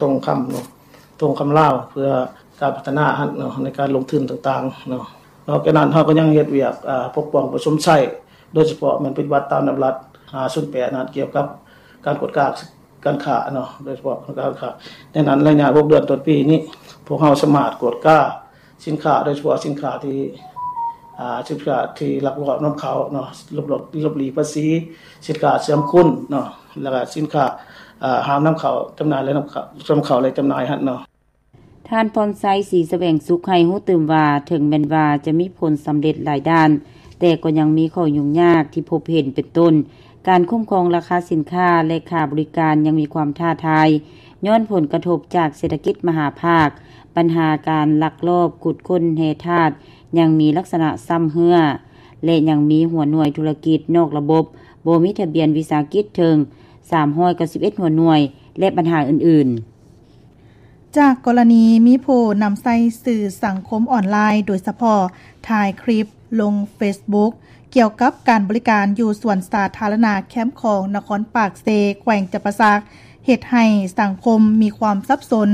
ທ່ອງຄຳເນາະ ທ່ອງຄຳລາວ ເພື່ອການພັດທະນາຫັ້ນເນາະ ໃນການລົງທຶນຕ່າງໆເນາະ. ນອກຈາກນັ້ນ ເຮົາກໍຍັງເຮັດວຽກ ອາ ປົກປ້ອງປະຊົມໃຊ້ ໂດຍສະເພາະແມ່ນປະຕິບັດຕາມດຳລັດ ຫ້າສູນແປດນັ້ນ ກ່ຽວກັບການກວດກາການຄ້າເນາະ ໂດຍສະເພາະການຄ້າ. ໃນນັ້ນ ໄລຍະຫົກເດືອນຕົ້ນປີນີ້ ພວກເຮົາສາມາດກວດກາສິນຄ້າ ໂດຍສະເພາະສິນຄ້າທີ່ ອາ ສິນຄ້າທີ່ລັກລອບນຳເຂົ້າເນາະ ຫຼົບ ຫຼົບ ຫຼົບຫຼີກພາສີ, ສິນຄ້າເຊື່ອມຄຸນເນາະ ແລ້ວກະສິນຄ້າ ອາ ຫ້າມນຳເຂົ້າຈຳໜ່າຍ ແລະ ນຳເຂົ້າ ນຳເຂົ້າ ແລະ ຈຳໜ່າຍຫັ້ນເນາະ. ທ່ານພອນໄຊ ສີສະແຫວງສຸກ ໃຫ້ຮູ້ຕື່ມວ່າ ເຖິງແມ່ນວ່າຈະມີຜົນສຳເລັດຫຼາຍດ້ານ, ແຕ່ກໍຍັງມີຂໍ້ຫຍຸ້ງຍາກທີ່ພົບເຫັນ ເປັນຕົ້ນ ການຄຸ້ມຄອງລາຄາສິນຄ້າ ແລະ ຄ່າບໍລິການຍັງມີຄວາມທ້າທາຍ ຍ້ອນຜົນກະທົບຈາກເສດຖະກິດມະຫາພາກ, ບັນຫາການລັກລອບຂຸດຄົ້ນແຮ່ທາດຍັງມີລັກສະນະຊຳເຮື້ອ ແລະ ຍັງມີຫົວໜ່ວຍທຸລະກິດນອກລະບົບບໍ່ມີທະບຽນວິສາຫະກິດເຖິງສາມຮ້ອຍເກົ້າສິບເອັດຫົວໜ່ວຍ ແລະ ບັນຫາອື່ນໆ. ຈາກກໍລະນີມີຜູ້ນຳໃຊ້ສື່ສັງຄົມອອນລາຍ ໂດຍສະເພາະຖ່າຍຄລິບລົງເຟສບຸກ ກ່ຽວກັບການບໍລິການຢູ່ສວນສາທາລະນະແຄມຂອງນະຄອນປາກເຊ ແຂວງຈຳປາສັກ ເຮັດໃຫ້ສັງຄົມມີຄວາມສັບສົນ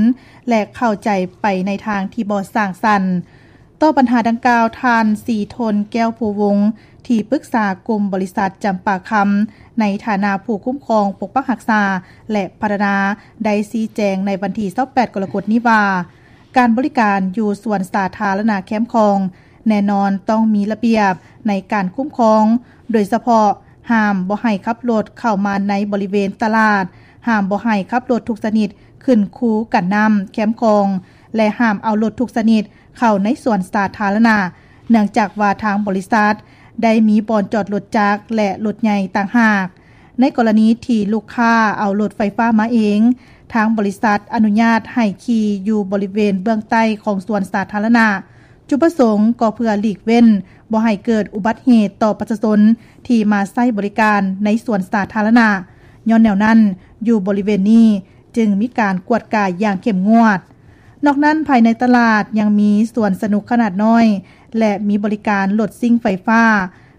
ແລະ ເຂົ້າໃຈໄປໃນທາງທີ່ບໍ່ສ້າງສັນ. ຕໍ່ບັນຫາດັ່ງກ່າວ, ທ່ານ ສີທົນ ແກ້ວພູວົງ ທີ່ປຶກສາກຸ່ມບໍລິສັດຈຳປາຄຳ ໃນຖານະຜູ້ຄຸ້ມຄອງ, ປົກປັກຮັກສາ ແລະ ພັດທະນາ ໄດ້ຊີ້ແຈງໃນວັນທີຊາວແປດ ກໍລະກົດນີ້ວ່າ ການບໍລິການຢູ່ສວນສາທາລະນະແຄມຂອງ ແນ່ນອນຕ້ອງມີລະບຽບໃນການຄຸ້ມຄອງ, ໂດຍສະເພາະຫ້າມບໍ່ໃຫ້ຂັບລົດເຂົ້າມາໃນບໍລິເວນຕະຫຼາດ, ຫ້າມບໍ່ໃຫ້ຂັບລົດທຸກຊະນິດຂຶ້ນຄູກັນນ້ຳແຄມຂອງ ແລະ ຫ້າມເອົາລົດທຸກຊະນິດ ເຂົ້າໃນສວນສາທາລະນະ, ເນື່ອງຈາກວ່າທາງບໍລິສັດໄດ້ມີບ່ອນຈອດລົດຈັກ ແລະ ລົດໃຫຍ່ຕ່າງຫາກ. ໃນກໍລະນີທີ່ລູກຄ້າເອົາລົດໄຟຟ້າມາເອງ, ທາງບໍລິສັດອະນຸຍາດໃຫ້ຂີ່ຢູ່ບໍລິເວນເບື້ອງໃຕ້ຂອງສວນສາທາລະນະ. ຈຸດປະສົງກໍເພື່ອຫຼີກເວັ້ນບໍ່ໃຫ້ເກີດອຸບັດເຫດຕໍ່ປະຊາຊົນທີ່ມາໃຊ້ບໍລິການໃນສວນສາທາລະນະ. ຍ້ອນແນວນັ້ນ, ຢູ່ບໍລິເວນນີ້ຈຶ່ງມີການກວດກາຢ່າງເຂັ້ມງວດ. ນອກນັ້ນ, ພາຍໃນຕະຫຼາດຍັງມີສວນສະໜຸກຂະໜາດນ້ອຍ ແລະ ມີບໍລິການລົດຊິ່ງໄຟຟ້າ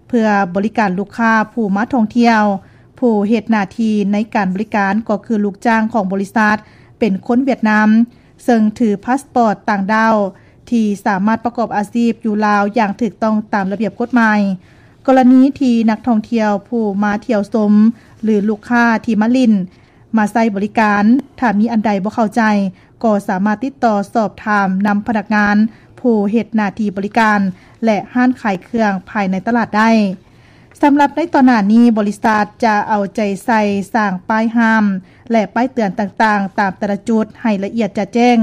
ເພື່ອບໍລິການລູກຄ້າຜູ້ມາທ່ອງທ່ຽວ. ຜູ້ເຮັດໜ້າທີ່ໃນການບໍລິການກໍຄືລູກຈ້າງຂອງບໍລິສັດ ເປັນຄົນຫວຽດນາມ, ເຊິ່ງຖືພາສປອດຕ່າງດ້າວ ທີ່ສາມາດປະກອບອາຊີບຢູ່ລາວຢ່າງຖືກຕ້ອງຕາມລະບຽບກົດໝາຍ. ກໍລະນີທີ່ນັກທ່ອງທ່ຽວຜູ້ມາທ່ຽວຊົມ ຫຼື ລູກຄ້າທີ່ມາຫຼິ້ນ ມາໃຊ້ບໍລິການ, ຖ້າມີອັນໃດບໍ່ເຂົ້າໃຈ, ກໍສາມາດຕິດຕໍ່ສອບຖາມນຳພະນັກງານຜູ້ເຮັດໜ້າທີ່ບໍລິການ ແລະ ຮ້ານຂາຍເຄື່ອງພາຍໃນຕະຫຼາດໄດ້. ສຳລັບໃນຕອນໜ້ານີ້, ບໍລິສັດຈະເອົາໃຈໃສ່ສ້າງປ້າຍຫ້າມ ແລະ ປ້າຍເຕືອນຕ່າງໆ ຕາມແຕ່ລະຈຸດໃຫ້ລະອຽດຈະແຈ້ງ,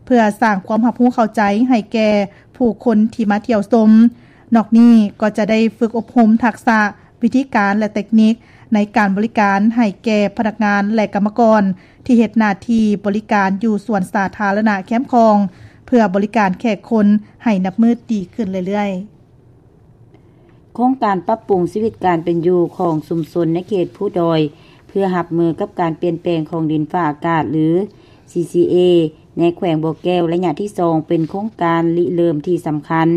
ເພື່ອສ້າງຄວາມຮັບຮູ້ເຂົ້າໃຈໃຫ້ແກ່ຜູ້ຄົນທີ່ມາທ່ຽວຊົມ. ນອກນີ້ກໍຈະໄດ້ຝຶກອົບຮົມທັກສະ ວິທີການ ແລະ ເຕັກນິກໃນການບໍລິການໃຫ້ແກ່ພະນັກງານ ແລະ ກຳມະກອນ ທີ່ເຮັດໜ້າທີ່ບໍລິການຢູ່ສວນສາທາລະນະແຄມຂອງ ເພື່ອບໍລິການແຂກຄົນໃຫ້ນັບມື້ດີຂຶ້ນເລື້ອຍໆ. ໂຄງການປັບປຸງຊີວິດການເປັນຢູ່ຂອງຊຸມຊົນໃນເຂດພູດອຍ ເພື່ອຮັບມືກັບການປ່ຽນແປງຂອງດິນຟ້າອາກາດ ຫຼື ຊີຊີເອ ໃນແຂວງບໍ່ແກ້ວ ໄລຍະທີສອງ ເປັນໂຄງການລິເລີ່ມທີ່ສຳຄັນ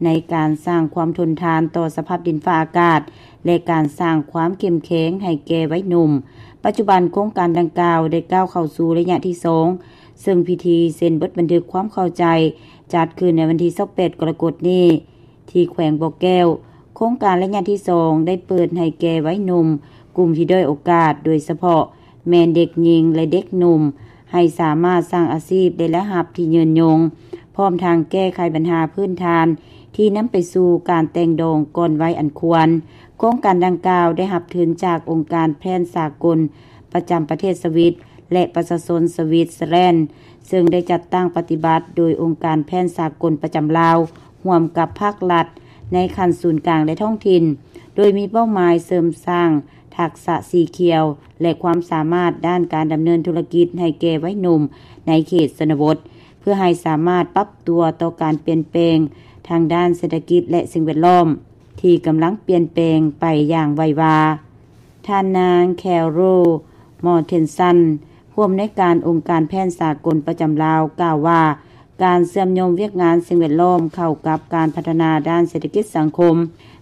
ໃນການສ້າງຄວາມທົນທານຕໍ່ສະພາບດິນຟ້າອາກາດ ແລະ ການສ້າງຄວາມເຂັ້ມແຂງໃຫ້ແກ່ໄວໜຸ່ມ. ປັດຈຸບັນໂຄງການດັ່ງກ່າວໄດ້ກ້າວເຂົ້າສູ່ໄລຍະທີສອງ ເຊິ່ງພິທີເຊັນບົດບັນທຶກຄວາມເຂົ້າໃຈ ຈັດຂຶ້ນໃນວັນທີຊາວແປດ ກໍລະກົດນີ້ ທີ່ແຂວງບໍ່ແກ້ວ. ໂຄງການໄລຍະທີສອງ ໄດ້ເປີດໃຫ້ແກ່ໄວໜຸ່ມກຸ່ມທີ່ດ້ອຍໂອກາດ, ໂດຍສະເພາະແມ່ນເດັກຍິງ ແລະ ເດັກໜຸ່ມ ໃຫ້ສາມາດສ້າງອາຊີບໄດ້ລາຍຮັບທີ່ຍືນຍົງ, ພ້ອມທັງແກ້ໄຂບັນຫາພື້ນຖານທີ່ນຳໄປສູ່ການແຕ່ງດອງກ່ອນໄວອັນຄວນ. ໂຄງການດັ່ງກ່າວໄດ້ຮັບທຶນຈາກອົງການແພນສາກົນປະຈຳປະເທດສະວິດ ແລະ ປະຊາຊົນສະວິດເຊີແລນ ເຊິ່ງໄດ້ຈັດຕັ້ງປະຕິບັດໂດຍອົງການແພນສາກົນປະຈຳລາວ ຮ່ວມກັບພາກລັດໃນຂັ້ນສູນກາງ ແລະ ທ້ອງຖິ່ນ, ໂດຍມີເປົ້າໝາຍເສີມສ້າງທັກສະສີຂຽວ ແລະ ຄວາມສາມາດດ້ານການດຳເນີນທຸລະກິດໃຫ້ແກ່ໄວໜຸ່ມໃນເຂດຊົນນະບົດ ເພື່ອໃຫ້ສາມາດປັບຕົວຕໍ່ການປ່ຽນແປງທາງດ້ານເສດຖະກິດ ແລະ ສິ່ງແວດລ້ອມທີ່ກຳລັງປ່ຽນແປງໄປຢ່າງໄວວາ. ທ່ານນາງ ແຄໂຣ ມໍເທັນສັນ ຜູ້ອຳນວຍການອົງການແພນສາກົນປະຈຳລາວ ກ່າວວ່າ ການເຊື່ອມໂຍງວຽກງານສິ່ງແວດລ້ອມເຂົ້າກັບການພັດທະນາດ້ານເສດຖະກິດສັງຄົມ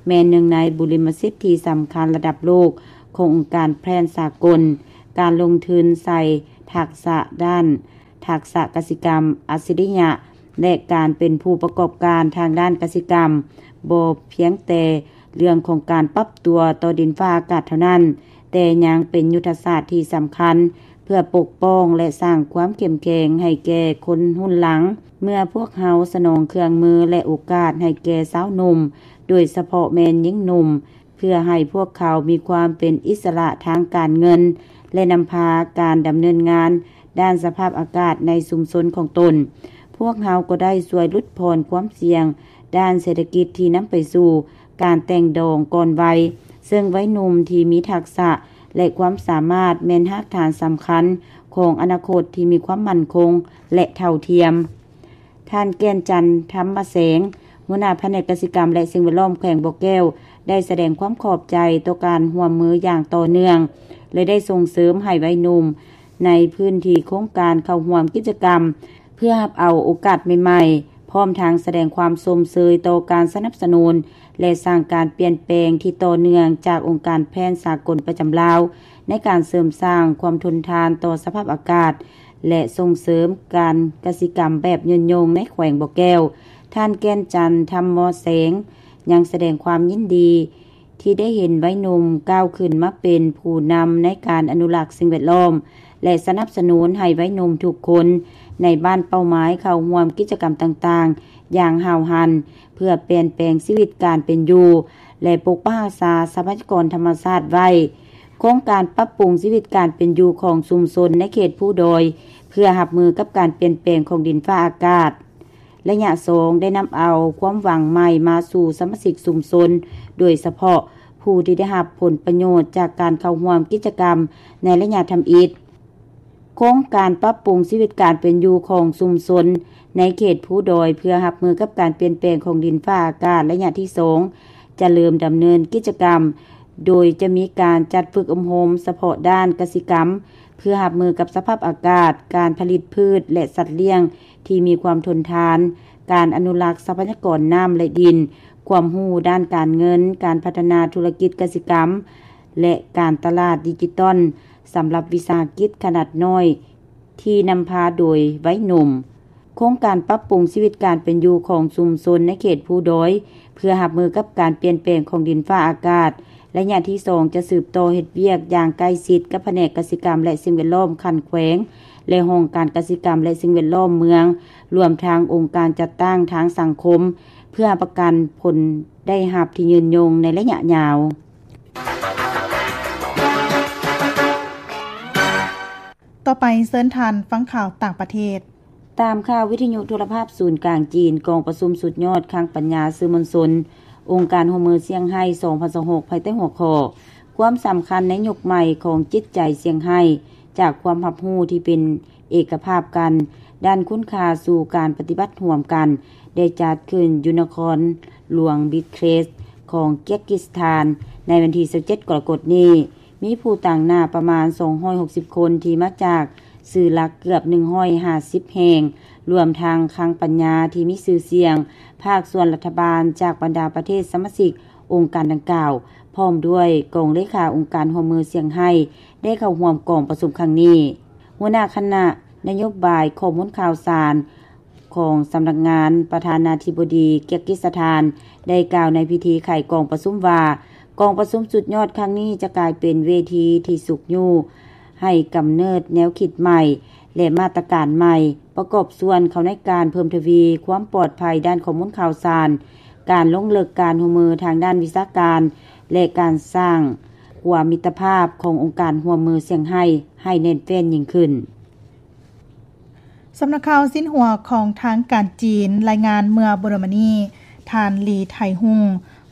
ແມ່ນໜຶ່ງໃນບຸລິມະສິດທີ່ສຳຄັນລະດັບໂລກຂອງອົງການແພນສາກົນ. ການລົງທຶນໃສ່ທັກສະດ້ານ ທັກສະກະສິກຳອັດສະລິຍະ ແລະ ການເປັນຜູ້ປະກອບການທາງດ້ານກະສິກຳ ບໍ່ພຽງແຕ່ເລື່ອງຂອງການປັບຕົວຕໍ່ດິນຟ້າອາກາດເທົ່ານັ້ນ, ແຕ່ຍັງເປັນຍຸດທະສາດທີ່ສຳຄັນ ເພື່ອປົກປ້ອງ ແລະ ສ້າງຄວາມເຂັ້ມແຂງໃຫ້ແກ່ຄົນຮຸ່ນຫຼັງ. ເມື່ອພວກເຮົາສະໜອງເຄື່ອງມື ແລະ ໂອກາດໃຫ້ແກ່ຊາວໜຸ່ມ, ໂດຍສະເພາະແມ່ນຍິງໜຸ່ມ, ເພື່ອໃຫ້ພວກເຂົາມີຄວາມເປັນອິດສະຫຼະທາງການເງິນ ແລະ ນຳພາການດຳເນີນງານດ້ານສະພາບອາກາດໃນຊຸມຊົນຂອງຕົນ, ພວກເຮົາກໍໄດ້ຊ່ວຍຫຼຸດຜ່ອນຄວາມສ່ຽງດ້ານເສດຖະກິດທີ່ນຳໄປສູ່ການແຕ່ງດອງກ່ອນໄວ, ເຊິ່ງໄວໜຸ່ມທີ່ມີທັກສະ ແລະ ຄວາມສາມາດແມ່ນຮາກຖານສຳຄັນຂອງອະນາຄົດທີ່ມີຄວາມໝັ້ນຄົງ ແລະ ເທົ່າທຽມ. ທ່ານ ແກ່ນຈັນ ທຳມະແສງ, ຫົວໜ້າພະແນກກະສິກຳ ແລະ ສິ່ງແວດລ້ອມແຂວງບໍ່ແກ້ວ ໄດ້ສະແດງຄວາມຂອບໃຈຕໍ່ການຮ່ວມມືຢ່າງຕໍ່ເນື່ອງ ແລະ ໄດ້ສົ່ງເສີມໃຫ້ໄວໜຸ່ມໃນພື້ນທີ່ໂຄງການເຂົ້າຮ່ວມກິດຈະກຳ ເພື່ອຮັບເອົາໂອກາດໃໝ່ໆ, ພ້ອມທັງສະແດງຄວາມຊົມເຊີຍຕໍ່ການສະໜັບສະໜູນ ແລະ ສ້າງການປ່ຽນແປງທີ່ຕໍ່ເນື່ອງຈາກອົງການແພນສາກົນປະຈຳລາວ ໃນການເສີມສ້າງຄວາມທົນທານຕໍ່ສະພາບອາກາດ ແລະ ສົ່ງເສີມການກະສິກຳແບບຍືນຍົງໃນແຂວງບໍ່ແກ້ວ. ທ່ານ ແກ່ນຈັນ ທຳມະແສງ ຍັງສະແດງຄວາມຍິນດີທີ່ໄດ້ເຫັນໄວໜຸ່ມກ້າວຂຶ້ນມາເປັນຜູ້ນຳໃນການອະນຸລັກສິ່ງແວດລ້ອມ ແລະ ສະໜັບສະໜູນໃຫ້ໄວໜຸ່ມທຸກຄົນໃນບ້ານເປົ້າໝາຍເຂົ້າຮ່ວມກິດຈະກຳຕ່າງໆຢ່າງຫ້າວຫັນ ເພື່ອປ່ຽນແປງຊີວິດການເປັນຢູ່ ແລະ ປົກປັກຮັກສາຊັບພະຍາກອນທຳມະຊາດໄວ້. ໂຄງການປັບປຸງຊີວິດການເປັນຢູ່ຂອງຊຸມຊົນໃນເຂດພູດອຍ ເພື່ອຮັບມືກັບການປ່ຽນແປງຂອງດິນຟ້າອາກາດ ໄລຍະສອງ ໄດ້ນຳເອົາຄວາມຫວັງໃໝ່ມາສູ່ສະມາຊິກຊຸມຊົນ, ໂດຍສະເພາະຜູ້ທີ່ໄດ້ຮັບຜົນປະໂຫຍດຈາກການເຂົ້າຮ່ວມກິດຈະກຳໃນໄລຍະທຳອິດ. ໂຄງການປັບປຸງຊີວິດການເປັນຢູ່ຂອງຊຸມຊົນໃນເຂດພູດອຍ ເພື່ອຮັບມືກັບການປ່ຽນແປງຂອງດິນຟ້າອາກາດໄລຍະທີສອງ ຈະເລີ່ມດຳເນີນກິດຈະກຳ ໂດຍຈະມີການຈັດຝຶກອົບຮົມສະເພາະດ້ານກະສິກຳ ເພື່ອຮັບມືກັບສະພາບອາກາດ, ການຜະລິດພືດ ແລະ ສັດລ້ຽງທີ່ມີຄວາມທົນທານ, ການອະນຸລັກຊັບພະຍາກອນນ້ຳ ແລະ ດິນ, ຄວາມຮູ້ດ້ານການເງິນ, ການພັດທະນາທຸລະກິດກະສິກຳ ແລະ ການຕະຫຼາດດິຈິຕອນ ສຳລັບວິສາຫະກິດຂະໜາດນ້ອຍ ທີ່ນຳພາໂດຍໄວໜຸ່ມ. ໂຄງການປັບປຸງຊີວິດການເປັນຢູ່ຂອງຊຸມຊົນໃນເຂດພູດອຍ ເພື່ອຮັບມືກັບການປ່ຽນແປງຂອງດິນຟ້າອາກາດ ໄລຍະທີສອງ ຈະສືບຕໍ່ເຮັດວຽກຢ່າງໃກ້ຊິດກັບພະແນກກະສິກຳ ແລະ ສິ່ງແວດລ້ອມຂັ້ນແຂວງ ແລະ ຫ້ອງການກະສິກຳ ແລະ ສິ່ງແວດລ້ອມເມືອງ, ລວມທັງອົງການຈັດຕັ້ງທາງສັງຄົມ ເພື່ອຮັບປະກັນຜົນໄດ້ຮັບທີ່ຍືນຍົງໃນໄລຍະຍາວ. ຕໍ່ໄປເຊີນທ່ານຟັງຂ່າວຕ່າງປະເທດ. ຕາມຂ່າວວິທະຍຸໂທລະພາບສູນກາງຈີນ, ກອງປະຊຸມສຸດຍອດຄັງປັນຍາສື່ມວນຊົນ ອົງການຮ່ວມມືຊຽງໄຮ້ ສອງພັນຊາວຫົກ ພາຍໃຕ້ຫົວຂໍ້ ຄວາມສຳຄັນໃນຍຸກໃໝ່ຂອງຈິດໃຈຊຽງໄຮ້ ຈາກຄວາມຮັບຮູ້ທີ່ເປັນເອກະພາບກັນ ດ້ານຄຸນຄ່າສູ່ການປະຕິບັດຮ່ວມກັນ ໄດ້ຈັດຂຶ້ນຢູ່ນະຄອນຫຼວງບິດເຄຣສ ຂອງເກຍກກິສຖານ ໃນວັນທີຊາວເຈັດ ກໍລະກົດນີ້. ມີຜູ້ຕາງໜ້າປະມານສອງຮ້ອຍຫົກສິບຄົນ ທີ່ມາຈາກສື່ຫຼັກເກືອບໜຶ່ງຮ້ອຍຫ້າສິບແຫ່ງ, ລວມທັງຄັງປັນຍາທີ່ມີຊື່ສຽງ, ພາກສ່ວນລັດຖະບານຈາກບັນດາປະເທດສະມາຊິກອົງການດັ່ງກ່າວ, ພ້ອມດ້ວຍກອງເລຂາອົງການຮ່ວມມືຊຽງໄຮ້ ໄດ້ເຂົ້າຮ່ວມກອງປະຊຸມຄັ້ງນີ້. ຫົວໜ້າຄະນະນະໂຍບາຍຂໍ້ມູນຂ່າວສານ ຂອງສຳນັກງານປະທານາທິບໍດີເກຍກກິສຖານ ໄດ້ກ່າວໃນພິທີໄຂກອງປະຊຸມວ່າ, ກອງປະຊຸມສຸດຍອດຄັ້ງນີ້ຈະກາຍເປັນເວທີທີ່ຊຸກຍູ້ໃຫ້ກຳເນີດແນວຄິດໃໝ່ ແລະ ມາດຕະການໃໝ່ ປະກອບສ່ວນເຂົ້າໃນການເພີ່ມທະວີຄວາມປອດໄພດ້ານຂໍ້ມູນຂ່າວສານ, ການລົງເລິກການຮ່ວມມືທາງດ້ານວິຊາການ ແລະ ການສ້າງຂົວມິດຕະພາບຂອງອົງການຮ່ວມມືຊຽງໄຮ້ ໃຫ້ແໜ້ນແຟ້ນຍິ່ງຂຶ້ນ. ສຳນັກຂ່າວຊິນຫົວຂອງທາງການຈີນລາຍງານເມື່ອບໍ່ດົນມານີ້, ທ່ານ ລີ ໄທຮຸ່ງ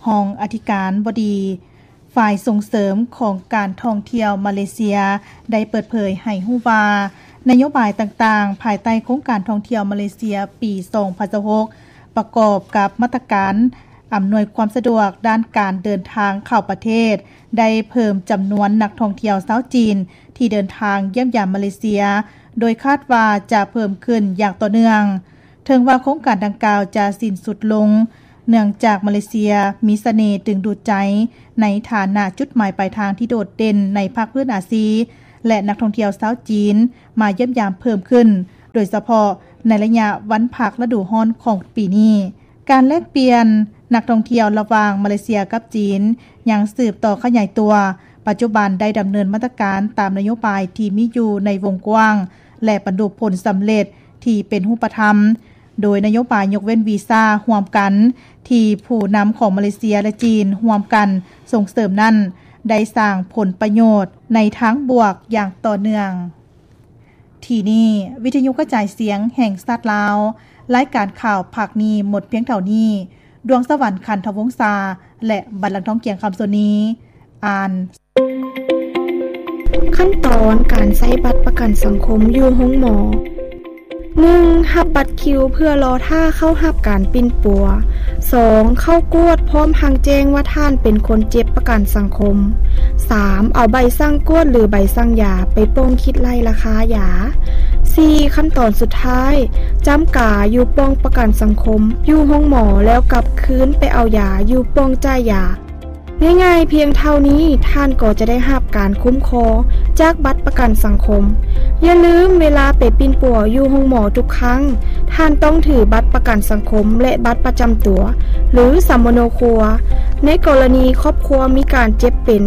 ຮອງອະທິການບໍດີຝ່າຍສົ່ງເສີມຂອງການທ່ອງທ່ຽວມາເລເຊຍ ໄດ້ເປີດເຜີຍໃຫ້ຮູ້ວ່າ ນະໂຍບາຍຕ່າງໆ ພາຍໃຕ້ໂຄງການທ່ອງທ່ຽວມາເລເຊຍປີສອງພັນຊາວຫົກ ປະກອບກັບມາດຕະການອຳນວຍຄວາມສະດວກດ້ານການເດີນທາງເຂົ້າປະເທດ ໄດ້ເພີ່ມຈຳນວນນັກທ່ອງທ່ຽວຊາວຈີນ ທີ່ເດີນທາງຢ້ຽມຢາມມາເລເຊຍ ໂດຍຄາດວ່າຈະເພີ່ມຂຶ້ນຢ່າງຕໍ່ເນື່ອງ. ເຖິງວ່າໂຄງການດັ່ງກ່າວຈະສິ້ນສຸດລົງ ເນື່ອງຈາກມາເລເຊຍມີສະເໜ່ດຶງດູດໃຈ ໃນຖານະຈຸດໝາຍປາຍທາງທີ່ໂດດເດັ່ນໃນພາກພື້ນອາຊີ ແລະ ນັກທ່ອງທ່ຽວຊາວຈີນມາຢ້ຽມຢາມເພີ່ມຂຶ້ນ, ໂດຍສະເພາະໃນໄລຍະວັນພັກລະດູຮ້ອນຂອງປີນີ້. ການແລກປ່ຽນນັກທ່ອງທ່ຽວລະຫວ່າງມາເລເຊຍກັບຈີນຍັງສືບຕໍ່ຂະຫຍາຍຕົວ. ປັດຈຸບັນໄດ້ດຳເນີນມາດຕະການຕາມນະໂຍບາຍທີ່ມີຢູ່ໃນວົງກວ້າງ ແລະ ບັນລຸຜົນສຳເລັດທີ່ເປັນຮູບປະທຳ, ໂດຍນະໂຍບາຍຍົກເວັ້ນວີຊາຮ່ວມກັນທີ່ຜູ້ນຳຂອງມາເລເຊຍ ແລະ ຈີນຮ່ວມກັນສົ່ງເສີມນັ້ນ ໄດ້ສ້າງຜົນປະໂຫຍດໃນທາງບວກຢ່າງຕໍ່ເນື່ອງ. ທີ່ນີ້ ວິທະຍຸກະຈາຍສຽງແຫ່ງຊາດລາວ, ລາຍການຂ່າວພາກນີ້ໝົດພຽງເທົ່ານີ້. ດວງສະຫວັນ ຂັນທະວົງສາ ແລະ ບັນລັງທອງ ກຽງຄຳ ໂຊນີ ອ່ານ. ຂັ້ນຕອນການໃຊ້ບັດປະກັນສັງຄົມຢູ່ໂຮງໝໍ. ໜຶ່ງ ຮັບບັດຄິວເພື່ອລໍຖ້າເຂົ້າຮັບການປິ່ນປົວ. ສອງ ເຂົ້າກວດພ້ອມທັງແຈ້ງວ່າທ່ານເປັນຄົນເຈັບປະກັນສັງຄົມ. ສາມ ເອົາໃບສັ່ງກວດ ຫຼື ໃບສັ່ງຢາໄປປ່ອງຄິດໄລ່ລາຄາຢາ. ສີ່ ຂັ້ນຕອນສຸດທ້າຍ ຈ້ຳກາຢູ່ປ່ອງປະກັນສັງຄົມ ຢູ່ໂຮງໝໍ ແລ້ວກັບຄືນໄປເອົາຢາຢູ່ປ່ອງຈ່າຍຢາ. ງ່າຍໆພຽງເທົ່ານີ້ ທ່ານກໍຈະໄດ້ຮັບການຄຸ້ມຄອງຈາກບັດປະກັນສັງຄົມ. ຢ່າລືມ, ເວລາໄປປິ່ນປົວຢູ່ໂຮງໝໍທຸກຄັ້ງ, ທ່ານຕ້ອງຖືບັດປະກັນສັງຄົມ ແລະ ບັດປະຈຳຕົວ ຫຼື ສຳມະໂນຄົວ ໃນກໍລະນີຄອບຄົວມີການເຈັບເປັນ,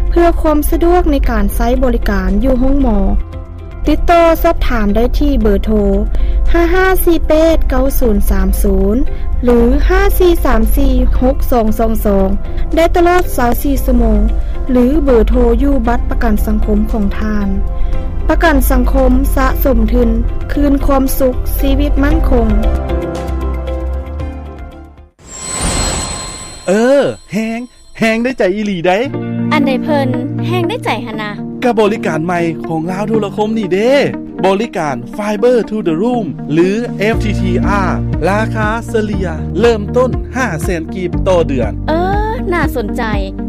ເພື່ອຄວາມສະດວກໃນການໃຊ້ບໍລິການຢູ່ໂຮງໝໍ. ຕິດຕໍ່ສອບຖາມໄດ້ທີ່ເບີໂທ ຫ້າຫ້າສີ່ແປດເກົ້າສູນສາມສູນ ຫຼື ຫ້າສີ່ສາມສີ່ຫົກສອງສອງສອງ ໄດ້ຕະຫຼອດຊາວສີ່ຊົ່ວໂມງ ຫຼື ເບີໂທຢູ່ບັດປະກັນສັງຄົມຂອງທ່ານ. ປະກັນສັງຄົມສະສົມທຶນ ຄືນຄວາມສຸກ, ຊີວິດໝັ້ນຄົງ. ເອີ ແຮງ ແຮງໄດ້ໃຈອີ່ຫຼີໃດ໋. ອັນໃດເພິ່ນແຮງໄດ້ໃຈຫັ້ນນະ? ກະບໍລິການໃໝ່ຂອງລາວໂທລະຄົມນີ້ເດ້ ບໍລິການ Fiber to the Room ຫຼື FTTR ລາຄາສະເລ່ຍເລີ່ມຕົ້ນຫ້າແສນກີບຕໍ່ເດືອນ. ເອີ ໜ້າສົນໃຈ.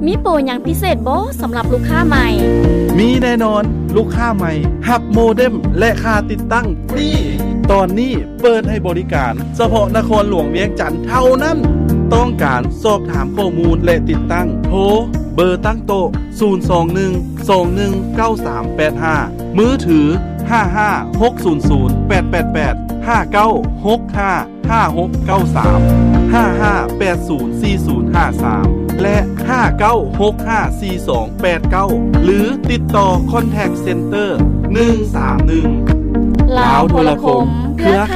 ມີໂປຫຍັງພິເສດບໍ່ສຳລັບລູກຄ້າໃໝ່? ມີແນ່ນອນ, ລູກຄ້າໃໝ່ຮັບໂມເດັມ ແລະ ຄ່າຕິດຕັ້ງຟຣີ. ຕອນນີ້ ເປີດໃຫ້ບໍລິການສະເພາະນະຄອນຫຼວງວຽງຈັນເທົ່ານັ້ນ. ຕ້ອງການສອບຖາມຂໍ້ມູນ ແລະ ຕິດຕັ້ງ ໂທເບີຕັ້ງໂຕະ ສູນສອງໜຶ່ງສອງໜຶ່ງເກົ້າສາມແປດຫ້າ, ມືຖື ຫ້າຫ້າຫົກສູນສູນແປດແປດແປດ, ຫ້າເກົ້າຫົກຫ້າຫ້າຫົກເກົ້າສາມ, ຫ້າຫ້າແປດສູນສີ່ສູນຫ້າສາມ ແລະ ຫ້າເກົ້າຫົກຫ້າສີ່ສອງແປດເກົ້າ ຫຼື ຕິດຕໍ່ Contact Center ໜຶ່ງສາມໜຶ່ງ. ລາວໂທລະຄົມ ເຄືອ